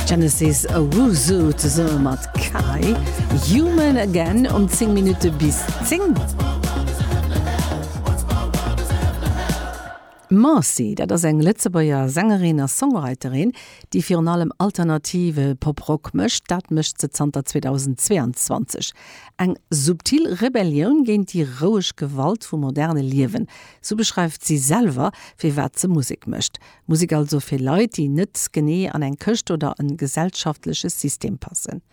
Genesis Owusu zesumme mat Kai, Human Again um 10 Minutte bis 10. D'Marcy, dat ass eng Lëtzebuerger Sängerin a Songwriterin, déi virun allem alternative Pop-Rock mécht. Dat mécht se zanter 2022. Eng subtil Rebellioun géint déi roueg Gewalt vum moderne Liewen, sou beschreift si selwer, firwat se Musek mécht. Musek also fir Leit, déi net genee an eng Këscht oder en gesellschaftleche System passen.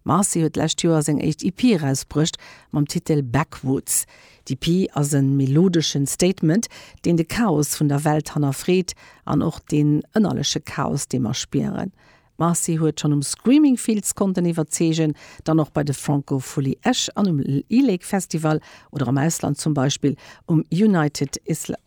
D'Marcy huet d'lescht Joer seng éischt EP erausbruecht mam Titel Backwoods. D'EP ass en melodeschen Statement, deen de Chaos vun der Welt hannerfreet an och deen ënnerleche Chaos, dee mer spieren. D'Marcy huet schonn um Screaming Fields konnten iwwerzeegen, dann och bei de Francofolies Esch an um E-Lake Festival oder am Ausland zum Beispill um United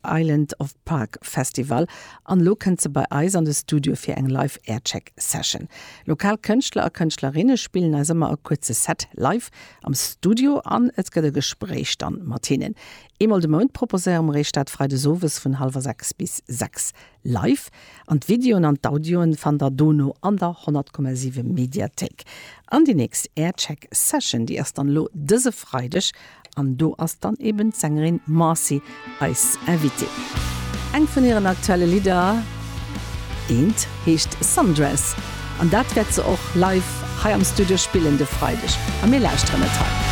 Island of Park Festival. An elo kënnt se bei eis an de Studio fir eng Live Aircheck Session. Lokal Kënschtler a Kënschtlerinne spillen eis ëmmer e kuerze Set live am Studio an et gëtt e Gespréich dann mat hinnen. Eemol de Mount proposéiere mer iech dat Freides owes vun hallwer 6 bis 6. Live. An d'Videoen an d'Audioen fannt der dono an der 100,7 Mediathéik. An déi nächst Aircheck Session, déi ass dann elo dëse Freideg an do ass dann eben d'Sängerin Marcy eis Invitée. Eng vun hiren aktuelle Lidder, eent, heescht Sundress an dat wäert se och live hei am Studio spillen de Freideg a mir lauschteren et hei.